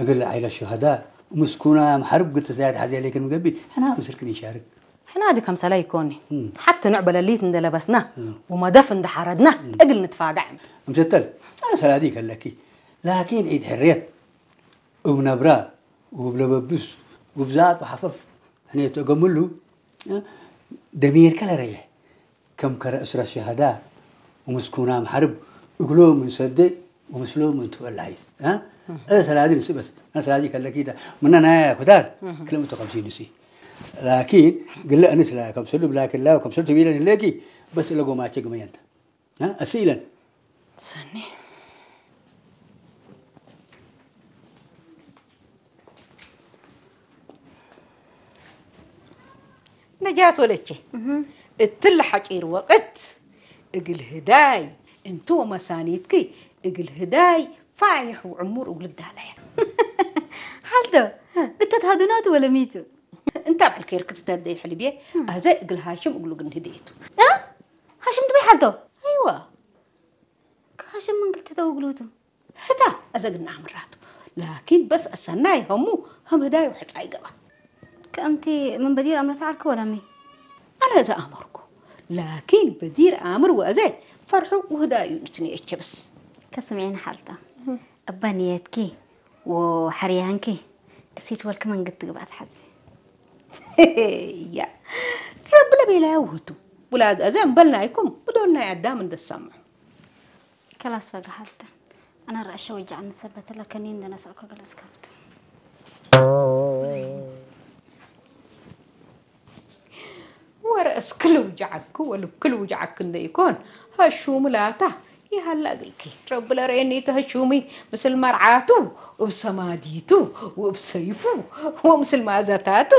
እግል ዓይለ ሹሃዳ ምስኩና መሓርብ ግልተ ሰላዲ ሓዚ ለይክን ምገቢ ሕና ምስልክን ይሻርክ። ሕና ዲ ከምሰላ ይኮኒ። ሓቲ ንዕ በለሊት እንደለበስና ወመደፍ እንደሓረድና እግል ንትፋጋዕ። እምሰተል ሰላዲ ከለኪ ላኪን ዒድ ሕርየት እብ ነብራ ውብ ለበብስ ውብ ዛጥ ወሓፈፍ ሕኔት እገምሉ ደሚርካ ለረየ ከም ከረ እስረ ሸሃዳ ወምስኩና መሓርብ እግሎ ምን ሰደ ወምስሎ ምን ትበላይስ። እ ሰላዲ ንስበስ ና ሰላዲ ከለኪ ዳ ምና ናያ ኩታር ክልምቶ ከምሲ ንሲ ላኪን ግለ እንስ ላ ከምሰሉ ብላክላ ከምሰሉ ትቢለን ለኪ በስ ለጎማቸ ግመየንተ እስ ኢለን ሰኒ ነጃት ወለቼ እትል ሓጪር ወቅት እግል ህዳይ እንቱ ወመሳኒትኪ እግል ህዳይ ፋይሕ ወዕሙር እግል ዳላያ ሓልቶ እተትሃዱናቱ ወለሚቱ እንታ ብዕልከይር ክትተደይ ሕልብየ ኣዘ እግል ሃሽም እግሉ ግን ህደየቱ እ? ሃሽም ትበይ ሓልቶ ኣይዋ ሃሽም መንግል ተተውግሉቱ ህታ ኣዘግና ኣምራቱ ላኪን በስ ኣሰናይ ሀሙ ሀም ህዳይ ወሕፃይ ገባ ከምቲ ምን በዲር ኣምረት ዓልክ ወላሚ ኣነ እዛ ኣመርኩ ላኪን በዲር ኣምር ወእዘ ፈርሑ ውህዳዩ ንትንየቸ በስ ከስምዒን ሓልታ እባ ንየትኪ ወሓርያንኪ እሲት ወልክ መንግድ ትግባት ሓዚ ያ ረቢ ለቤላ ያውህቱ ውላድ ኣዘ እምበልናይኩም ብዶልናይ ኣዳም እንደሰምዑ ከላስ በጋ ሓልታ ኣነ ራእሸ ወጃዕ ንሰበት ለከኒ እንደነሳእኮ ገለጽ ከብቱ ወረእስ ክልውጃዓክ ወልብ ክልውጃዓክ እንደ ይኮን ሀሹሙ ላታ ይሃላ እግልኪ ረቢ ለረኤኒ ተሀሹሚ ምስል መርዓቱ እብ ሰማዲቱ ወእብ ሰይፉ ወምስል ማዘታቱ